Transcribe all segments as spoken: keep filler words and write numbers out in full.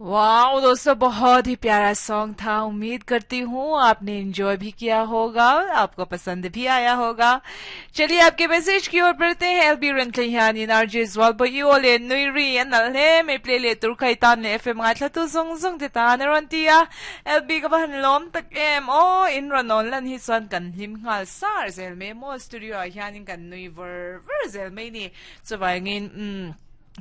वाह दोस्तों, बहुत ही प्यारा सॉन्ग था। उम्मीद करती हूँ आपने एंजॉय भी किया होगा, आपको पसंद भी आया होगा। चलिए, आपके मैसेज की ओर बढ़ते हैं। एलबी रंथलिहानी RJ zwalbo iole nuiri anal he me play le tur khai tan le F M ngai thla tu zong zong te ta na ron tia. L B, ka ban lom tak em o. In ron on lan hi chuan kan hlim ngal sar zel me mo. Studio a hianin kan nui ver ver zel mai ni. Chuwangin um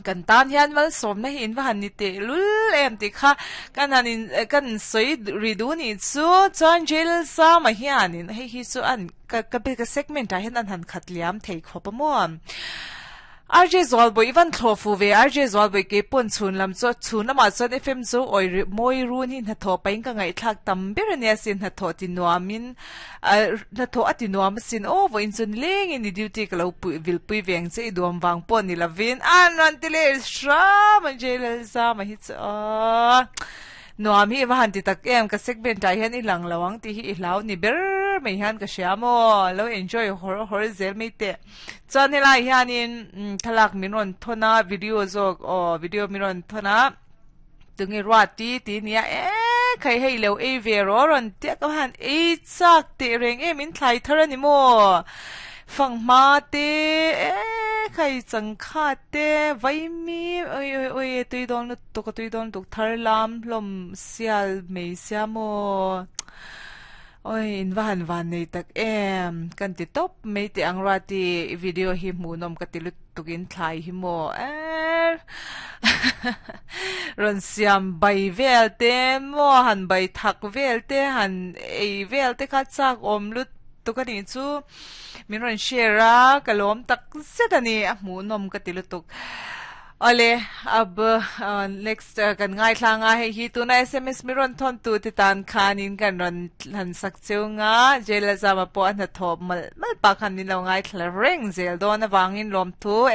kan tan hian mal som na hin wa han ni te lul em ti kha kan hanin kan soi ri du ni chu. Chuan jail sa ma hianin hei hi chu an ka ka be ka segment a hian an han khat liam thei khop mo. R J Zwalboy, ivan thlofu ve. R J Zwalboy, ke pon chun lam cho chun lama chuan F M chu oi moi run hi na tho pain ka ngai thlak tam ber ania sin. Na tho ti nuamin, na tho ati nuam sin o. Vo in chun leng in duty ka lo pu vil pui veng che duam wang pon ni lavin an ran ti le shra man jail sa ma hi chu nuam hi wa han ti tak em. Ka segment ai hian i lang lawang ti hi i hlau ni ber mai hian ka hria mo. Lo enjoy hor hor zel mai te. Chuan helai hianin thlalak min rawn thona, video zawk o, video min rawn thona. Tunge ruat ti ti nia e khai hei lo ei ve ro ron te ka han ei chak te reng em in thlai thar ani mo. Phang ma te e khai chang kha te vai mi oi oi oi, tui don lu tu ka tui don tuk thar lam lom sial mei sia mo. Oi, in van van nei tak em kan ti top mei te ang rati. Video hi mu nom ka ti lut tukin thlai hi mo er ron siam bai vel te mo, han bai thak vel te, han ei vel te kha chak om lut tu ka ni chu. Min ron share a kalom tak zet ani, a mu nom ka ti lutuk. Ole, ab next kan ngai thlanga hei hi tuna S M S mi ron thon tu ti tan khanin kan ron han sak chunga jela zama po an tho mal mal pa khan ni lo ngai thla reng zel don awangin lom thu.